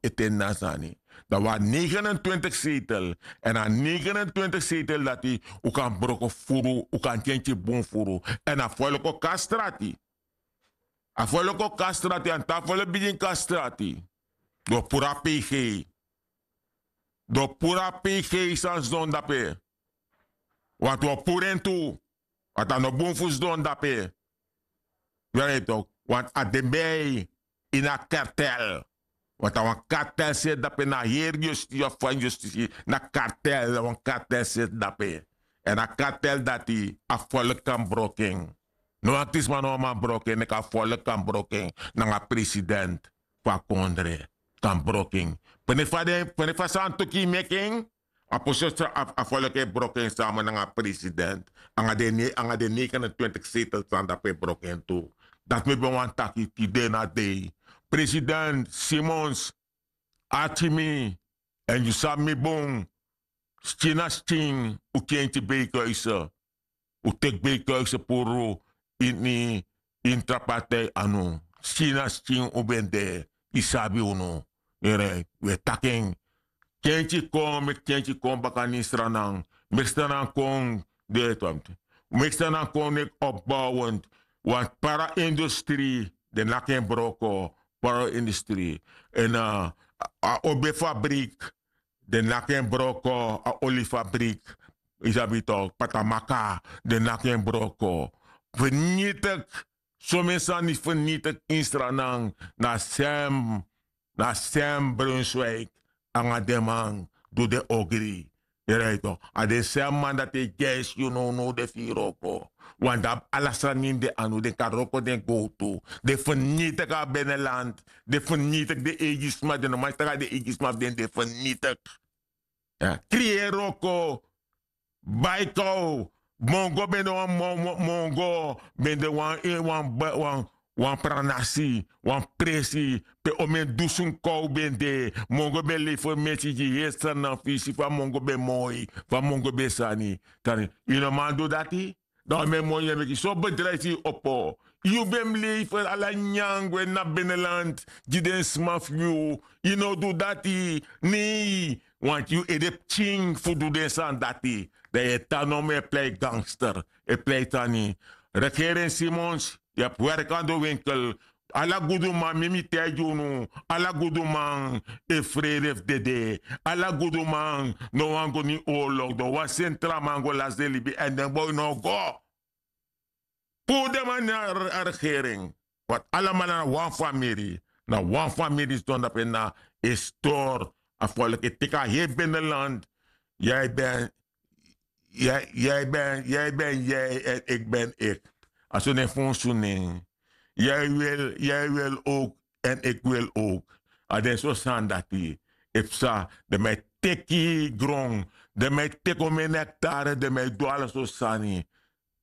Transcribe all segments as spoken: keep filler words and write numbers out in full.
e teni na a sani. Dan wi abi negenentwintig setel. Èn a negenentwintig setel dati un kan broko furu, un kan kenki bun furu. Èn a folko kastrati. A folko kastrati an ta folko bigin kastrati. Don puru a pg. Don puru a pg san sidon dape. Wantu o puru en tu. Wantu a no bun fu sidon dape. Weri tok wantu a de bei ini a kartel. Wantu a wan kartel seti dape na heri yustisi of fan yustisi na kartel na wan kartel seti dape. Èn a kartel dati a folku kan broko en. No wan krisma no wan man broko en meki a folku kan broko en nanga president fu a kondre kan broko en. Pene fa den pene fa san tuki meki en. A posi a folku e broko en sama nanga president nanga den negenentwintig setel san dape broko en tu. Dati mi ben wani taki tide na dei president simons arki mi. Èn yu sabi mi bun. Skin na skin un kenki beikuise. Un teki beikuise puru ini ini tra partij anu. Skin na skin un ben de yu sabi unu. Ere wi e taki en. Kenki kon meki kenki kon baka na ini sranan. Meki sranan kon de meki sranan kon neki opbowent. Wan para industri den naki en broko. Para industri èn a obe fabrik den naki en broko a oli fabrik. Yu sabi tok patamaka den naki en broko. Fernitik. Somen sani fernitik ini sranan na sem na sem brunswik nanga den man du den ogri. Yu rai tok a den sem man dati e gesi yu nownow den fu yu wroko. Wan di abi ala sani ini den anu den kan wroko den gowtu. Den fernitik a beneland. Den fernitik den eigi sma den no man si tak' a den eigi sma fu den den fernitik. Kriyeri wroko. Bai kaw. Mongo ben de wan mongo ben de wan wan wan pranasi wan presi pe omen dusun kaw ben de. Mongo ben lei fermesi gi heri sani na fisi fa mongo ben moi fa mongo ben sani. Yu no man du dati. Dan wan men moi yu e meki so bedrijfi yu opo. Yu ben mus lei fu ala nyangu en na beneland gi den sma fu yu. Yu no du dati. Nei. Wanti yu ede pikin fu du den sani dati. Dan yu e tan nomo e plei gangster e plei sani. Regering simons yu abi werki na den winkel. Ala guduman mi mi taigi unu. Ala guduman e frede fu dede. Ala guduman no wani go na ini oorlog don wan sentraman go lasi den libi èn den boi no o go. Puru den man na a regering. Wantu alamala na wan famiri. Na wan famiri sidon dape na e stori a folku e teki a heri beneland. Yu e ben yu e ben yu e ben yu e ben eki ben eki. A so nen fu un su nen. Yu e wil yu e wil owk èn eki wil owk. A den so sani dati e psa. Den man e teki gron. Den man e teki omen ektare den man e du ala so sani.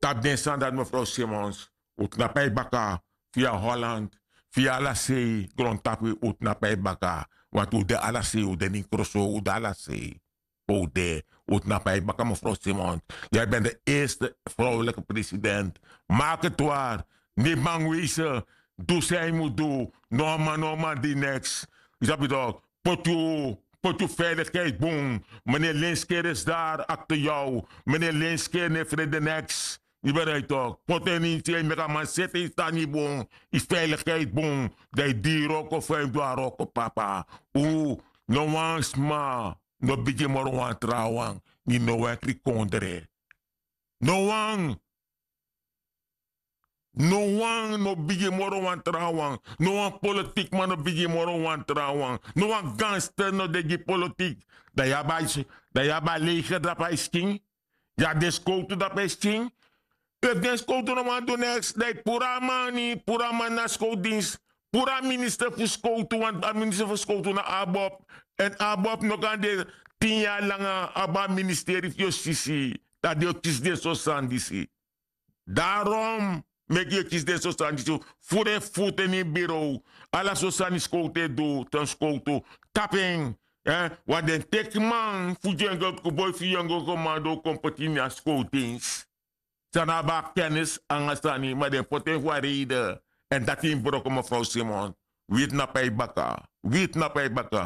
Tapu den sani dati mefrow simons un tnapu na yu baka. Fia holland fia ala sei grontapu un tnapu na yu baka. Wantu un de ala sei un de na ini kroso un de ala sei. Pe un de un tnapu na yu baka mefrow simons. Yu e ben de eerste frowlike president. Maki twari. Ni bangwese. Du san yu mus du. No a man no a man di neks. Yu sabi tok. Poti yu poti yu feilikheid bun. Mene lenskeri esi dari akte yu. Mene lenskeri no e frede neks. Yu ben rai tok poti en ini yu sei meki a man seti en yu sani bun. Yu feilikheid bun. Dan yu di yu wroko fa yu mus du a wroko papa. Un no wan sma no bigin moro wan trawan. Ini no wan kri kondre. No wan. No wan no bigin moro wan trawan. No wan politikman no bigin moro wan trawan. No wan ganster no de gi politik. Dan yu abi a leger dape a yu skin. Yu abi den skowtu dape a yu skin. Efu den skowtu no wani du neks dan yu puru a man ini puru a man na skowtu dins. Puru a minister fu skowtu want a minister fu skowtu na abob. Èn abob no kan de tin yari langa abi a ministeri fu yustisi. Dan den o kisi den so sani disi. Darom meki yu e kisi den so sani disi. Furu en futu ini yu birow. Ala so sani skowtu e du ten skowtu tapu en. Wan den teki man fu yengel boi fu yengel komando kon poti ini a skowtu dins. San no abi a kenis nanga sani ma den poti en fu a reide. Èn dati yu mus broko mefrow simon. Wi tnapu na yu baka. Wi tnapu na yu baka.